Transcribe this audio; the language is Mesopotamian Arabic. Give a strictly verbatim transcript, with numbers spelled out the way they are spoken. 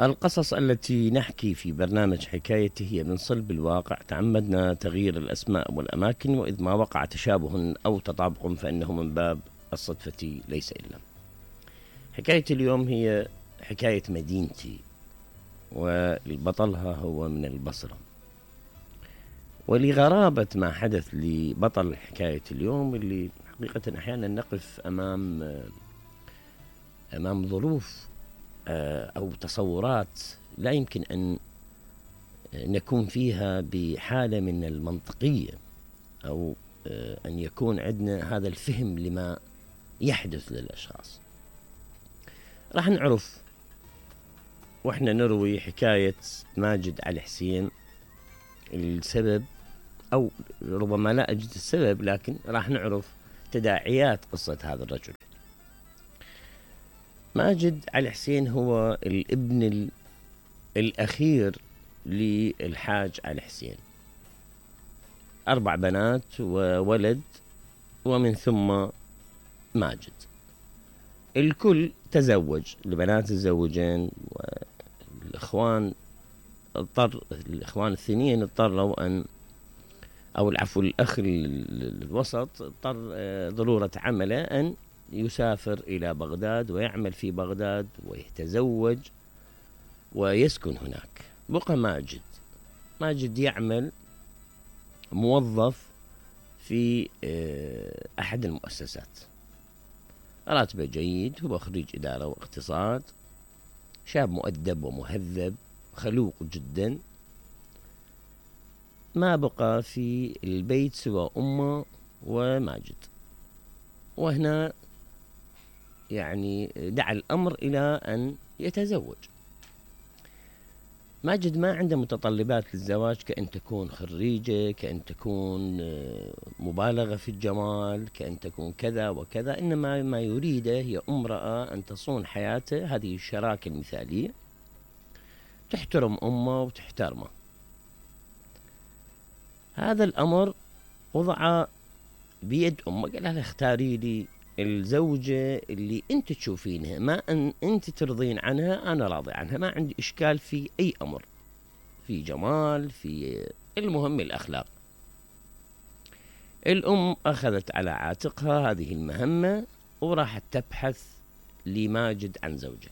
القصص التي نحكي في برنامج حكايتي هي من صلب الواقع، تعمدنا تغيير الأسماء والأماكن، وإذ ما وقع تشابه أو تطابق فإنه من باب الصدفة ليس إلا. حكايتي اليوم هي حكاية مدينتي، والبطلها هو من البصرة. ولغرابة ما حدث لبطل حكاية اليوم، اللي حقيقة أحيانا نقف أمام أمام ظروف أو تصورات لا يمكن أن نكون فيها بحالة من المنطقية، أو أن يكون عندنا هذا الفهم لما يحدث للأشخاص. راح نعرف وإحنا نروي حكاية ماجد علي حسين السبب، أو ربما لا أجد السبب، لكن راح نعرف تداعيات قصة هذا الرجل. ماجد علي حسين هو الابن الأخير للحاج علي حسين، أربع بنات وولد، ومن ثم ماجد. الكل تزوج، البنات تزوجين، والإخوان اضطر الإخوان الثانيين اضطروا أن أو العفو الأخ الوسط اضطر ضرورة عمله أن يسافر إلى بغداد ويعمل في بغداد ويتزوج ويسكن هناك. بقى ماجد ماجد يعمل موظف في أحد المؤسسات، راتبه جيد، هو خريج إدارة واقتصاد، شاب مؤدب ومهذب، خلوق جدا. ما بقى في البيت سوى أمه وماجد، وهنا يعني دعا الأمر إلى أن يتزوج. ماجد ما عنده متطلبات للزواج، كأن تكون خريجة، كأن تكون مبالغة في الجمال، كأن تكون كذا وكذا، إنما ما يريده هي امرأة أن تصون حياته، هذه الشراكة المثالية، تحترم أمه وتحترمه. هذا الأمر وضع بيد أمه، قال لها اختاري لي الزوجة اللي أنت تشوفينها، ما أن أنت ترضين عنها أنا راضي عنها، ما عندي إشكال في أي أمر، في جمال، في المهم الأخلاق. الأم أخذت على عاتقها هذه المهمة، وراحت تبحث لماجد عن زوجة.